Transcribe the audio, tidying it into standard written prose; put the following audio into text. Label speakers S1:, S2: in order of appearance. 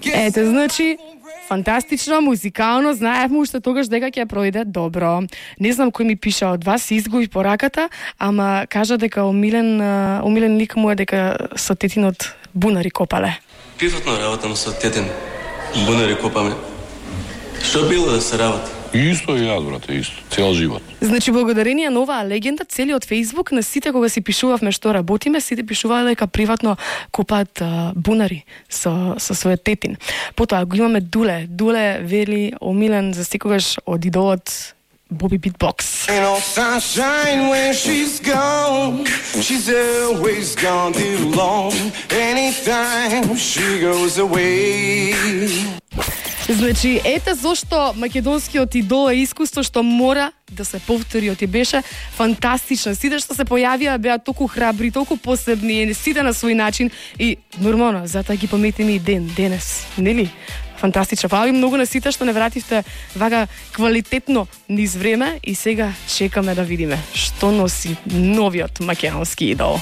S1: Ете, значи, фантастично, музикално, знаевме уште тогаш дека ќе пројде добро. Не знам кој ми пиша од вас, изгуби пораката, ама кажа дека умилен лик му е дека со тетинот бунари копале.
S2: Приватно работам со тетин, бунари копаме. Што било да се работи?
S3: Исто и јас, брате, исто. Цел живот.
S1: Значи, благодарение на оваа легенда, целиот Фејсбук, на сите кога си пишувавме што работиме, сите пишуваа дека приватно копаат бунари со својот тетин. Потоа го имаме Дуле. Дуле вели омилен за секогаш од идолот Боби Битбокс. Значи, ете зошто македонскиот идол е искуство што мора да се повтори, оти беше фантастично. Сите што се појавија беа толку храбри, толку посебни, сите на свој начин и нормално, затоа ги пометиме и денес, нели? Фантастично. Фала ви многу на сите што не вративте вака квалитетно низ време и сега чекаме да видиме што носи новиот македонски идол.